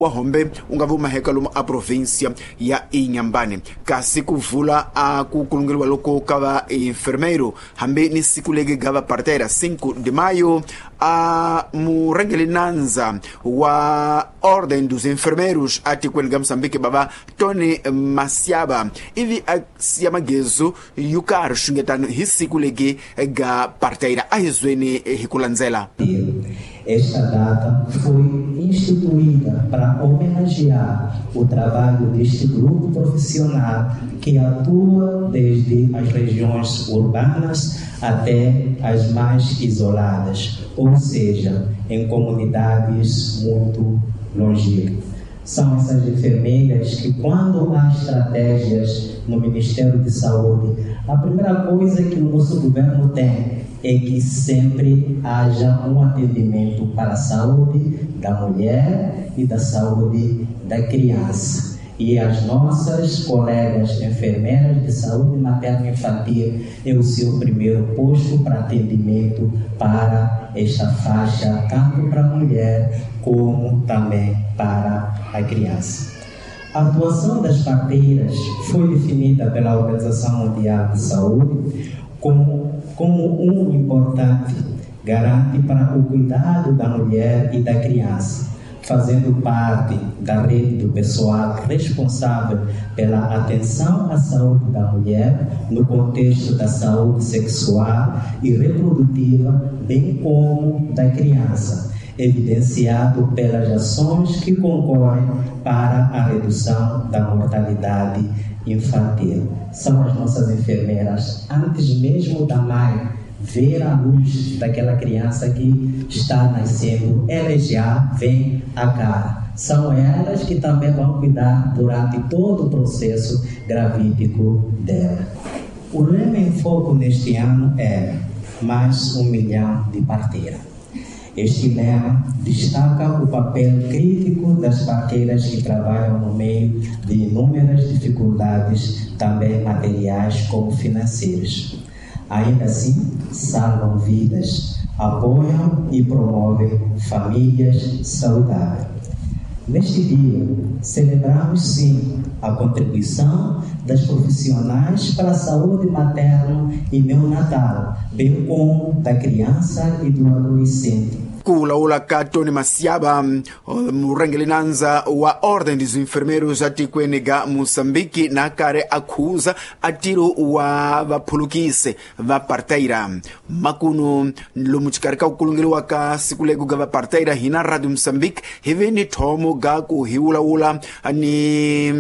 Wa Hombe wu nga vumaheka lomu a província ya Inhambane. Kasi ku vula a ku kulungeriwa loko ka va enfermeiro hambi ni siku legi ga va parteira 5 de maio, a murhangeri nandza wa Ordem dos Enfermeiros atikweni ga Moçambique, bava Tony Masiaba, ivi a siya magezu yo karhi xungetano hi siku legi ga parteira. A hi zweni hi ku landzela. Esta data foi instituída para homenagear o trabalho deste grupo profissional que atua desde as regiões urbanas até as mais isoladas, ou seja, em comunidades muito longínquas. São essas enfermeiras que, quando há estratégias no Ministério de Saúde, a primeira coisa que o nosso governo tem é que sempre haja um atendimento para a saúde da mulher e da saúde da criança. E as nossas colegas enfermeiras de saúde materna infantil é o seu primeiro posto para atendimento para esta faixa, tanto para a mulher como também para a criança. A atuação das parteiras foi definida pela Organização Mundial de Saúde como um importante garante para o cuidado da mulher e da criança, fazendo parte da rede do pessoal responsável pela atenção à saúde da mulher no contexto da saúde sexual e reprodutiva, bem como da criança, evidenciado pelas ações que concorrem para a redução da mortalidade infantil. São as nossas enfermeiras, antes mesmo da mãe ver a luz daquela criança que está nascendo, elas já vêm a cara. São elas que também vão cuidar durante todo o processo gravídico dela. O lema em foco neste ano é mais 1 milhão de parteiras. Este lema destaca o papel crítico das parteiras que trabalham no meio de inúmeras dificuldades, também materiais como financeiras. Ainda assim, salvam vidas, apoiam e promovem famílias saudáveis. Neste dia, celebramos sim a contribuição das profissionais para a saúde materna e neonatal, bem como da criança e do adolescente. Ku vulavula ka Tony Masiaba, murhangeri nandza wa Ordem dos Enfermeiros atikweni ga Moçambique, na karhi a khuza a ntirho wa vaphulukisi va parteira. Makunu lomu xikarhi ka ku kulungeriwa ka siku legu ga vaparteira, hina Radio Moçambique hi ve ni thomo ga ku hi vulavula ni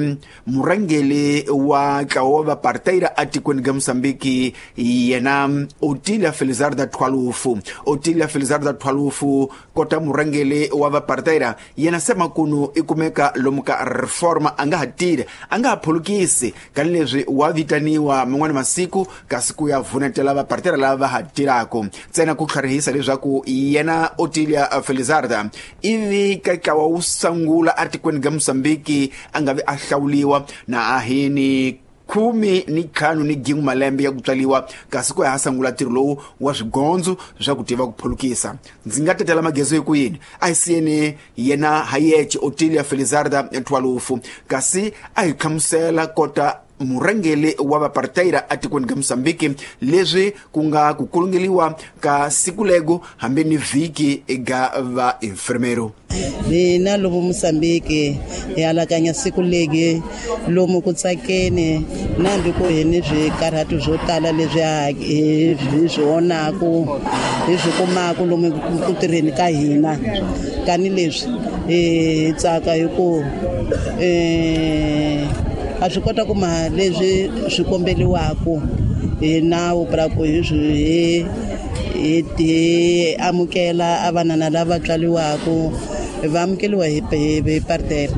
murhangeri wa ntlawa wa vaparteira atikweni ga Moçambique, yena Otilia Felizarda Thwalufu. Otilia Felizarda Thwalufu kota murhangeri wa vaparteira, yena se makunu i kumeka lomu ka Reforma, a nga ha tirhi, a nga ha phulukisi, kanileswi wa vitaniwa man'wani masiku kasi ku ya vunetela vaparteira lava va ha tirhaka. Ntsena ku tlharihisa leswaku yena Otilia Felizarda ivi ka ntlawa wu sungula atikweni ga Moçambique a nga vi a hlawuliwa na ahini 15 ni gin'we malembe ya ku tswaliwa, kasi ku ya ha sungula ntirho lowu wa swigondzo swa ku tiva ku phulukisa. Ndzi nga tetela magezo hi ku yini? A hi siyeni yena hayece Otilia Felizarda Thwalufu, kasi a hi hlamusela kota murhangeri wa vaparteira atikweni ka Moçambique leswi ku nga ku kulungeliwa ka siku lego hambi ni vhiki ga va enfermero. Hina lomu Moçambique hi alakanya siku legi lomu ku tsakeni, nambi ku hi ni swikarhati swo tala leswi hi swi vonaku, hi swi kumaku lomu ku tirheni ka hina. Kani leswi hi tsaka hi ku a swi kota ku ma leswi swi kombeliwaku hi nawu pra ku hi swi hi amukela a vanana lava tswaliwaku, va amukeliwa hi partera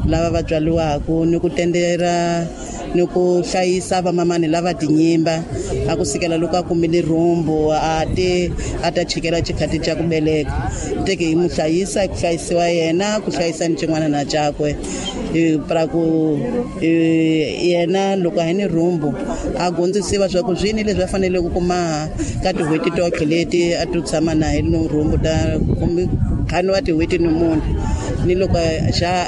lava va tswaliwaku, ni ku tendera ni ku hlayisa vamamani lava tinyimba a ku sikela loko a kumile rhumbu a te a ta chikela xikhati xa ku beleka, teke hi mu hlayisa, ku hlayisiwa yena, ku hlayisa ni xin'wana na cakwe pra ku yena loko a hi ni rhumbu a gondzisiwa swa ku swini leswi a faneleke ku kuma ka tin'hweti totlhe leti a to tshama na hi no rhumbu ta kumbe ntlhanu wa tin'hweti ni mune, ni loko xa